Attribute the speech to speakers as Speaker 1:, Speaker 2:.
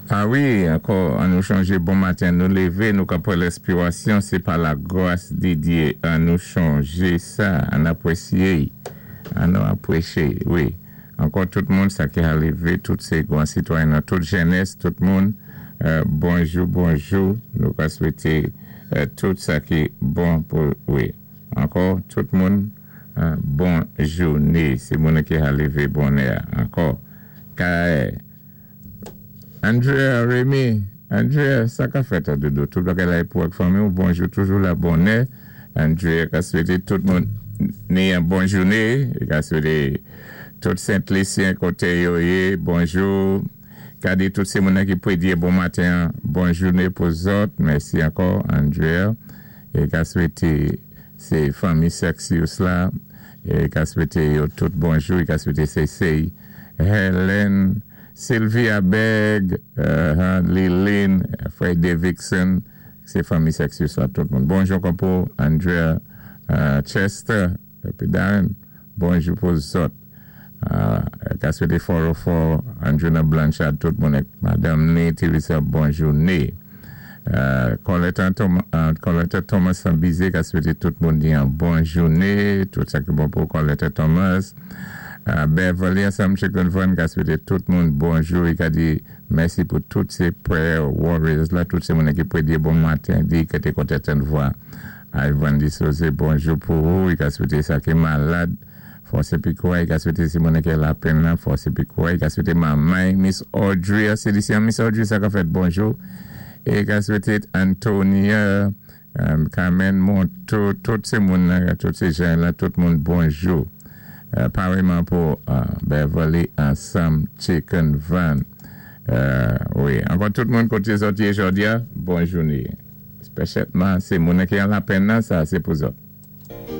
Speaker 1: A wi, ankò, an nou chonjé bon maten nou lévé, nou ka pwan lèspirasyon, sé pa la gwas di Dyé. An nou chonjé sa, an apwésyé, an nou apwéché, wi. Ankò tout moun sa ki ha lévé, tout sé gwan sitwayen nan tout jènès, tout moun, bonjou, bonjou, nou ka swété tout sa ki bon pou, wi. Ankò tout moun, bon jouné, sé moun ki ha lévé bonnè, ankò. Kay. Andrea Remy, Andrea, sa ka fèt a doudou? Tout bagay la é pou ak fanmi ou? Bonjou toujou la bonnè. Andrea ka swété tout moun ni yon bon jouné. Li ka swété tout Sent Lisyen koté yo yé bonjou. Ka di tout sé moun ki prédyé bon maten an bon jouné pou zòt. Mèsi ankò Andrea. E ka swété sé fanmi Sexius la. E ka swété yo tout bonjou. E ka swété sé Sey Helen, Sylvia Berg, Liline, Frè Davidson, sé fanmi Sexius la tout moun. Bonjou ankò pou Andrea Chester épi Darren. Bonjou pou zòt. Ka swété 404 Andrew Blanchard tout moun ak madanm ni Teresa bon jouné. Coletta Thomas San Bizé ka swété tout moun di yon bon jouné. Tout sa ki bon pou Coletta Thomas. Beverly ansanm Chicken Van ka swété tout moun bonjou. I ka di mèsi pou tout sé prayer warriors la, tout sé moun ki prédyé bon maten, di ki té kontan tann vwa Ivan Disose, bonjou pou ou. I ka swété sa ki malad fòs épi kouray. I ka swété si moun ki lapenn nan fòs épi kouray. I ka swété manman Miss Audrey Célicien. Miss Audrey, sa ka fèt, bonjou. É ka swété Antonia Carmen Monto, tout sé moun tout sé jan la, tout moun bonjou. Parèyman pou Beverly ansanm Chicken Van. Wi, ankò tout moun koté zòt yé jòdi a, bon jouné. Spésyalman sé moun ki an lapenn nan, sa sé pou zòt.